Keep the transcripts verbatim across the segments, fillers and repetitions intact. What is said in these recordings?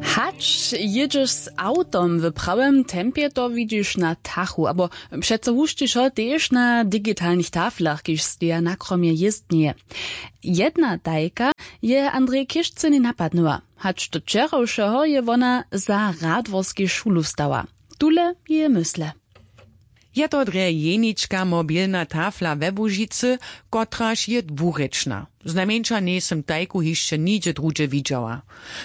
Hač jědźeš z awtom w prawym tempje, to widźiš na tachu abo přeco hušćišo tež na digitalnych taflach, kiž steja na kromje jězdnje. Jedna tajka je andrej kišcyny napadnyła, hač do wčerawšeho je wona za radworskej šulu stała. Tule jeje mysle. Je to drje jenička mobilna tafla we łužicy, kotraž je dwurěčna. Znajmjeńša njejsym tajku hišće nigdźe druhdźe widźała.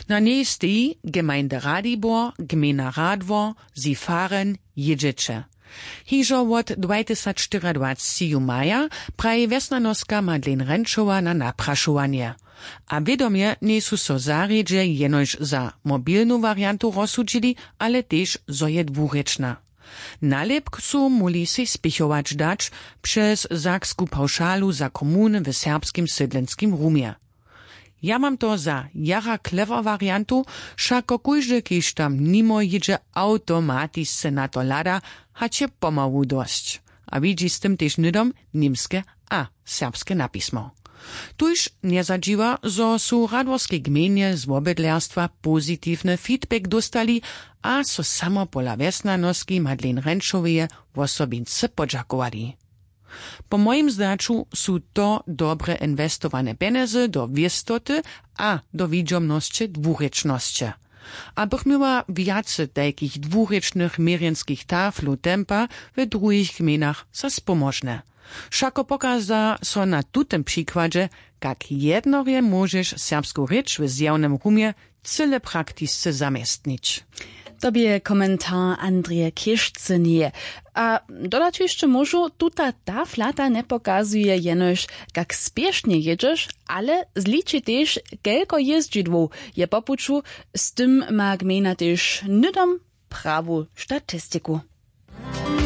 Na njej steji gemeinde radibor, gmejna radwor, sifaren, jědźeće. Hižo wot dwajtysacštyriadwacci ju maja, praji wjesnjanoska madlen renčowa na naprašowanje. A wědomje njejsu so zarjedźe jenož za mobilnu wariantu rozsudźili, ale tež zo je dwurěčna. Nalěpk su móhli sej spěchować dać přez saksku pawšalu za komuny w serbskim sydlenskim rumje. Ja mam to za jara klewer wariantu, wšako kóždy kiž tam nimo jědźe awtomatisce na to hlada, hač je pomału dosć, a widźi z tym tež hnydom němske a serbske napismo. Tuž njezadźiwa, zo su w radworskej gmejnje z wobydlerstwa pozitiwny feedback dóstali a so samo pola wjesnjanoski madlen renčoweje wosobince podźakowali. Po mojim zdaću su to dobre inwestowane pjenjezy do wěstoty a do widźomnosće dwurěčnosće. A bych měła wjace tajkich dwurěčnych měrjenskich taflow tempa w druhich gmejnach za spomóžne. Wšako pokaza so na tutym přikładźe, kak jednorje móžeš serbsku rěč w zjawnym rumje cyle praktisce zaměstnić. To bě komentar andreje kěšcyneje. A dodać hišće móžu, tuta taflata njepokazuje jenož, kak spěšnje jědźeš, ale zliči tež, kelko jězdźidłow je po puću. Z tym ma gmejna tež hnydom prawu statistiku.